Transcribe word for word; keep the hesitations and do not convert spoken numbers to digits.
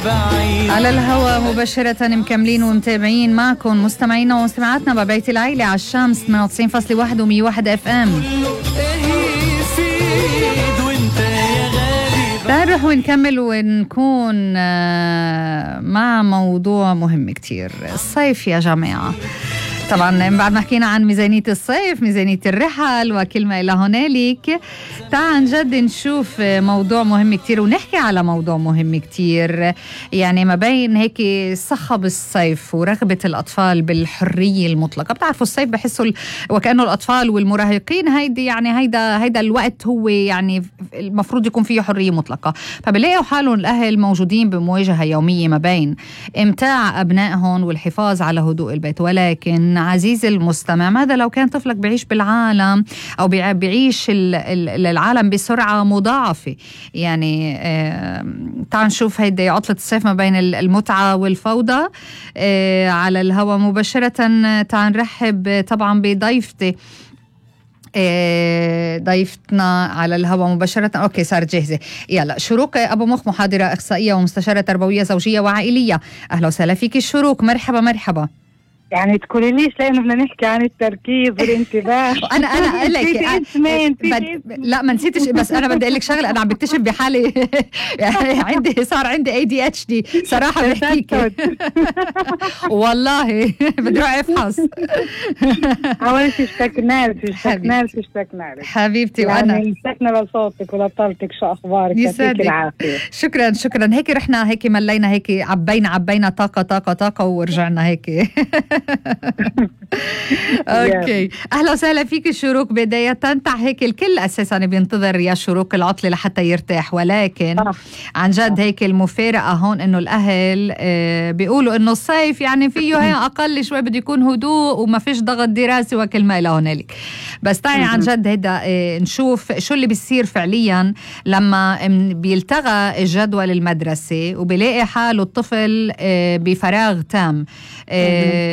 على الهواء مباشرة مكملين ومتابعين معكم مستمعينا ومستمعاتنا ببيت العيلة على الشمس ثمانية وتسعين فاصلة واحد ومية وواحد اف ام. تعال نروح ونكمل ونكون مع موضوع مهم كتير، الصيف يا جماعة. طبعا بعد ما حكينا عن ميزانية الصيف، ميزانية الرحل وكل ما إلى هنالك، تعال عن جد نشوف موضوع مهم كتير ونحكي على موضوع مهم كتير، يعني ما بين هيك صخب الصيف ورغبة الأطفال بالحرية المطلقة. بتعرفوا الصيف بحسوا وكأنه الأطفال والمراهقين هيدي يعني هيدا هيدا الوقت هو يعني المفروض يكون فيه حرية مطلقة، فبلاقوا حالهم الأهل موجودين بمواجهة يومية ما بين إمتاع أبنائهم والحفاظ على هدوء البيت. ولكن عزيزي المستمع، ماذا لو كان طفلك بيعيش بالعالم أو بيعيش العالم بسرعة مضاعفة؟ يعني آه تعال نشوف هيدي عطلة الصيف ما بين المتعة والفوضى. آه على الهواء مباشرة تعال نرحب طبعا بضيفتي، ضيفتنا على الهواء مباشرة. أوكي صارت جاهزة. يلا، شروق أبو مخ، محاضرة إخصائية ومستشارة تربوية زوجية وعائلية. أهلا وسهلا فيك شروق، مرحبا مرحبا. يعني تقوليليش لأنه بدنا نحكي عن التركيز والانتباه. أنا أنا أقول لك بد... لا ما نسيتش، بس أنا بدي أقول لك شغلة، أنا عم بكتشف بحالي يعني عندي صار عندي إيه دي إتش دي صراحة بحكيك والله بدي أروح أفحص. أول شيء اشتكنا لك اشتكنا لك اشتكنا لك حبيبتي، وأنا يعني اشتكنا لصوتك ولطلتك. شو أخبارك؟ يعطيك العافية. شكرا شكرا. هيك رحنا هيك ملينا هيك عبينا عبينا طاقة طاقة طاقة ورجعنا هيك. اوكي، اهلا وسهلا فيك شروق. بداية تنتع هيك الكل اساسا بينتظر يا شروق العطلة لحتى يرتاح، ولكن آه. عن جد هيك المفارقة هون انه الاهل آه بيقولوا انه الصيف يعني فيه هي اقل شوي، بده يكون هدوء وما فيش ضغط دراسي وكل ما الى هنالك. بس تعي عن جد هيدا آه نشوف شو اللي بيصير فعليا لما بيلتغى الجدول المدرسي وبيلاقي حاله الطفل آه بفراغ تام. آه